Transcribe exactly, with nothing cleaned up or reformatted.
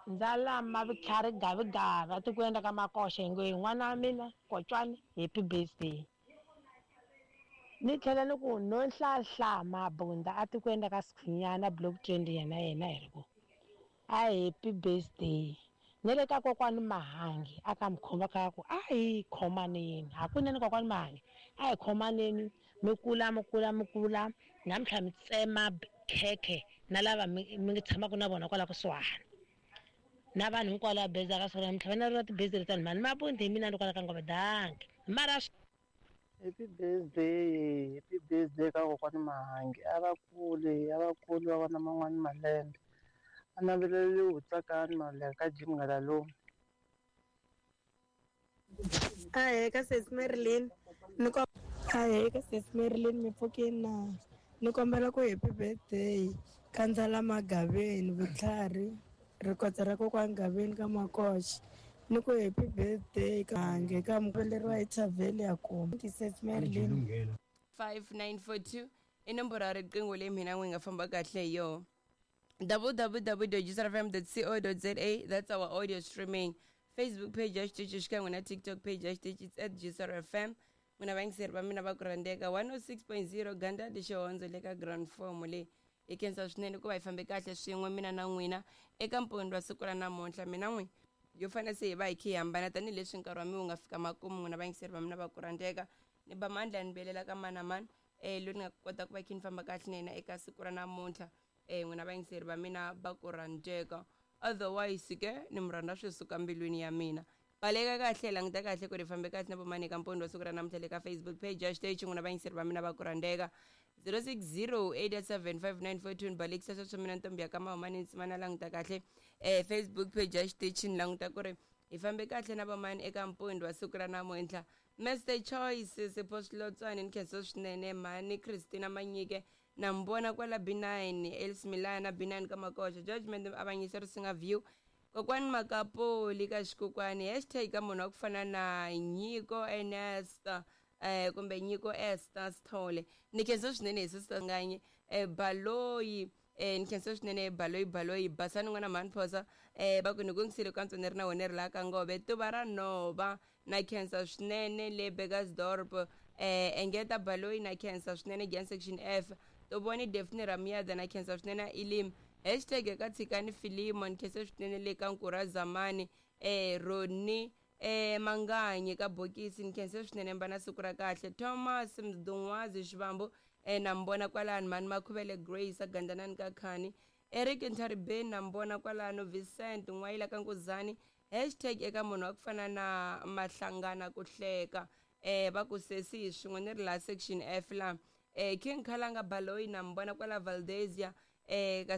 Ndzalama vutlhari gavigavi atikweni ka Makoxa hi ngo hi n'wana wa mina Kotswani happy birthday. Ni tlhela ni ku Nonhlahla Mabunda atikweni ka Sikhunyana block twenty yena yena hi ri ku a happy birthday. Ni le ka kokwani Mahangi aka Mkhomba ka ku a hi khomaneni hakunene kokwani Mahangi a hi khomaneni mi kula mi kula mi kula namuntlha mi tsema khekhe na lava mi mi tshamaka na vona kwala kusuhani na vanhu hinkwavo lava bezaka swona namuntlha va na ri tibezi letani mhani Mabundi hi mina ni kwala ka Ngove danki mara Happy birthday, happy birthday ka kokwani Mahangi. A va kule, a va kule va vona man'wani malembe. A naveleliwi Tsakani Maluleke ka Jim Nghalalomu. Ahee ka sesi Marilyn ni ko ahee ka sesi Marilyn mi pfukini na ni kombela ku happy birthday ka Ndzalama Gaveni vutlhari rikotsa ra kokwani Gaveni ka Makoxa ni ku happy birthday ka Hange ka muveleriwa hi Thavheli ya kuma sesi Marilyn. Five nine four two i nomboro ya riqingho leyi mina n'wi nga famba kahle hi yona. w w w dot g s r f m dot co dot za, that's our audio streaming. Facebook page ya xitichi xikan'we na TikTok page ya xitichi, it's at G S R F M. N'wina vayingiseri va mina va ku rhandzeka, one oh six point zero Gandadi Xihondzo le ka ground form leyi hi khensa swinene ku va hi fambe kahle swin'we mina na n'wina eka mpundzu wa siku ra namuntlha. Mina n'wi yo fanele se hi va hi khe hi hambana tanihileswi nkarhi wa mi wu nga fika makumu. N'wina vayingiseri va mina va ku rhandzeka, ni ba mandla ni vuyelela ka mani na mani um loyi ni nga kota ku va khe ni famba kahle na yena eka siku ra namuntlha. um n'wina vayingiseri va mina va ku rhandzeka, otherwise ke ni mi rhandza swi suka mbilwini ya mina. Baleka kahle, languta kahle ku ri fambe kahle na vomani eka mpundzu wa siku ra namuntlha le ka Facebook page ya xiteji. N'wina vayingiseri va mina va ku rhandzeka, zero six zero eight seven five nine four two, ni balekisa sweswo mina ntombi ya ka Mahumani Ntsimana. Languta kahle um Facebook page ya xitichi, ni languta ku ri hi fambe kahle na vamani eka mpundzu wa siku ra namuntlha. Mister Choice Sipho Swilotswani, ni khensa swinene. Mhani Christina Manyike na mi vona kwala B nine, Els Milana B nine ka Makoxa, Judgment Avanyisa Risinga View, kokwani Makapoli ka xikokwani, hashtag ka munhu wa ku fana na Nyiko Ernest eh kumbe Nyiko Esther Sithole, ni khensa swinene hi sister nganye eh Baloyi. eh ni khensa swinene Baloyi Baloyi Basani n'wana mhani Phosa eh va ku ni kungisile ka ni ri na wena ri laha ka Ngove tuva ra nhova, na khensa swinene le Burgersdorp. eh engeta Baloyi, na khensa swinene Gian section F Tovoni Daphne Ramiyada, na khensa swinene Ilim, hashtag ka Tshikani Filimo, ni khensa swinene le ka Nkura Zamani. eh Roni eh Manganyi ka Bokisi, ni khensa swinene mbana siku ra kahle. Thomas Mdungwazi Xivambu eh na mbona kwalano. Mani Makhuvele Grace agandanani ka Khani, Eric Ntharibeni na mbona kwalano. Vincent N'wayila ka Nkuzani, hashtag eka munhu wa ku fana na Mahlangana ku hleka eh va ku sesi swin'we ni ri la section F la. eh King Khalanga Baloyi na mbona kwala Valdezia eh ka.